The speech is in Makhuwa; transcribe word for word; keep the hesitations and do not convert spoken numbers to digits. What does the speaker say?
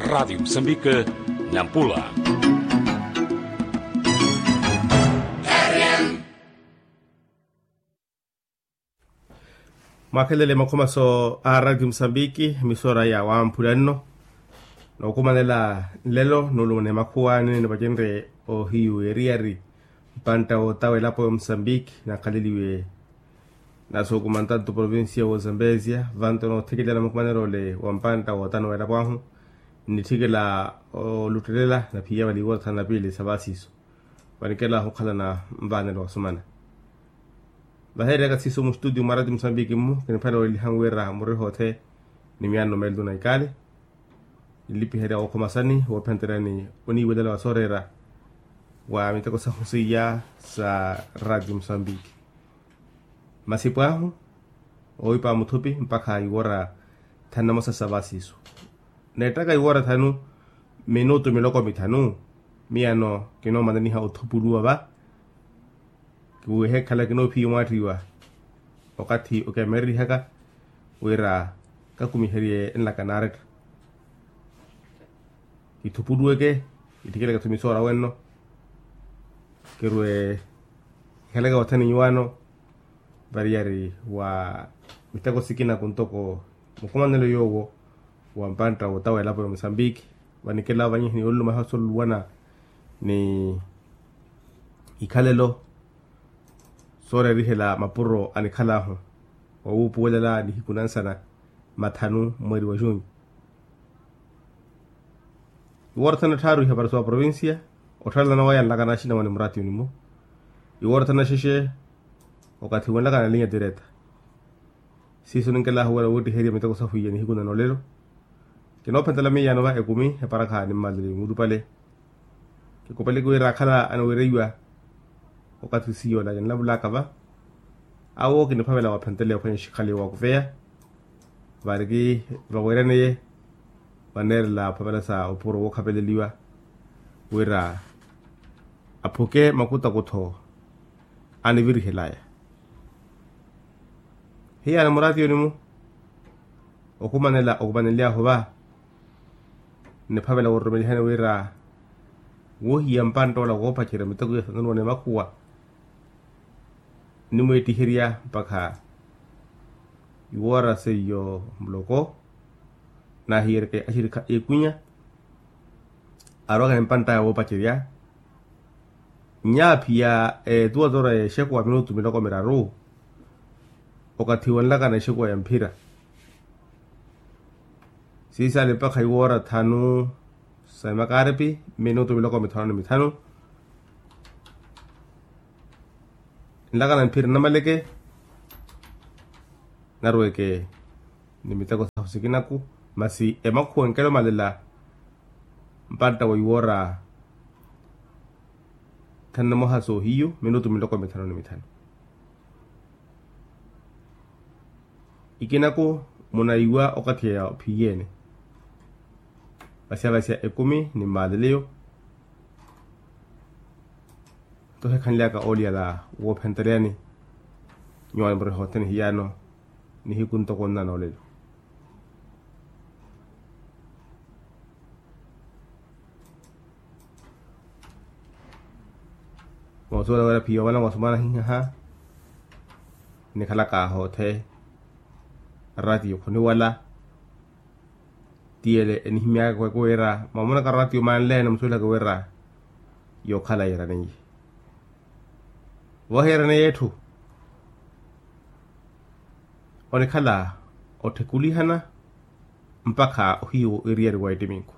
Radiyo musambike, nampula. Mwakhelele makhumaso a radiyo musambiki, misora ya wamphula nno. Nookumanela nlelo nuulumana emakhuwa nini nipacenrye ohiyu eriyari, mpantta wootawa elapo ya musambiki nakhaleliwe. Nasuukuma ntantu provincia wa zambezia vanto noothikilana mukumanelo ole wa mpantta wootano wa elapo ahu. Nnitthikela oluttelela naphiya valiiwa othana na piili sa vaasiiso. Vanikelahu okhalana nvaanelo wasumana. Vaheereyaka siiso mustutiyo mwa radiyo musambiki mmu kiniphale welihangu wira muriha othe ni miyanno meeltu na ikale. Nlipiherya wookhomasani woophenteryani oniiwelela wa sooreera wa miteko sahu seiya sa radiyo musambiki. Masipo ahu oowipa muthupi mpakha iwora thanu na mosa sa vaasiiso. Neettaka iwora thanu minutu miloko mithanu. Miyano kinoomananiha othupuluwa va. Kiwehe khala kinoophiya omwaattiwa okathi okemererihaka wira kakumiherye enlaka naaretta. Kithupuluweke kithikeleke thumisoora wenno. Kirwe kikhaleke wathani nyuwaano. Variyari wa miteko sikina kuntoko mukumanelo yoowo wa mpantta wootawa elapo ya musambiki. Vanikela vanyihi ni olulumaha osoluluwana ni ikhalelo sooreerihela mapuro anikhalaahu owuupuwelela nihiku nansana mathanu mweeri wa junyu. Iwoorathana tthaaru ihapari sowa provincia otthalelana waya nlakana axinamwane muratiyoni-mo. Iwoorathana xexe okathi wenlakana linya direta. Siiso ninkelahu wira woottiherya miteko sahu iya nihiku na noolelo. Kinoophentela miiyano va ekumi eparakha nimmalele murupale. Kikopeleke wira akhala aniwereiwa okathi siyola kinlavulaka va. Awo kiniphavela waphentele ophwanya xikhale wakuveya. Variki vaweeraneye vaneerela phavela sa opuro wookhapeleliwa wira aphuke makutakutho anivirihelaya. Hiyaana muratiyoni-mu okhumanela okhumanelyahu va. Niphavela wooromelihani wira wohiya mpantta ola woopacerya miteko ya sanuluwana emakhuwa. Nimweettiherya mpakha iwoora seiyo muloko. Nahiyereke axirikha ekwinya arowaka ni mpantt'aya woopacerya. Nyaaphiya etuwa toora exekuwa minutu miloko miraru. Okathi wenlakana exekuwa ya mphira siisaale mpakha iwoora thanu sa emakaaripi minutu miloko mithanu ni mithanu. Nlakana mphira namaleke narweke ni miteko sahu sikinaku. Masi emakhuwa enkela omalela mpantta wa iwoora thanu na moha soohiyu minutu miloko mithanu ni mithanu. Ikinaku munaiwa okathi ya phiyene vasya vasya ekumi ni maaleleyo. Nto hekhanlyaka ooliyala woophenteryani nyuwaani muriha othene hiyaano nihiku ntoko nna noolelo. Moosuwela wira phiya omalanga osumana hihaha nikhalaka hoothe. Ratiyo khuniwala tiyele enihimyaka kweke wira mwamonaka ratiyo manleene musuwelaka wira yookhala yiiraneiye. Vohiiraneiye etthu onikhala otthikulihana mpakha ohiyu eriyari wa ettiminku.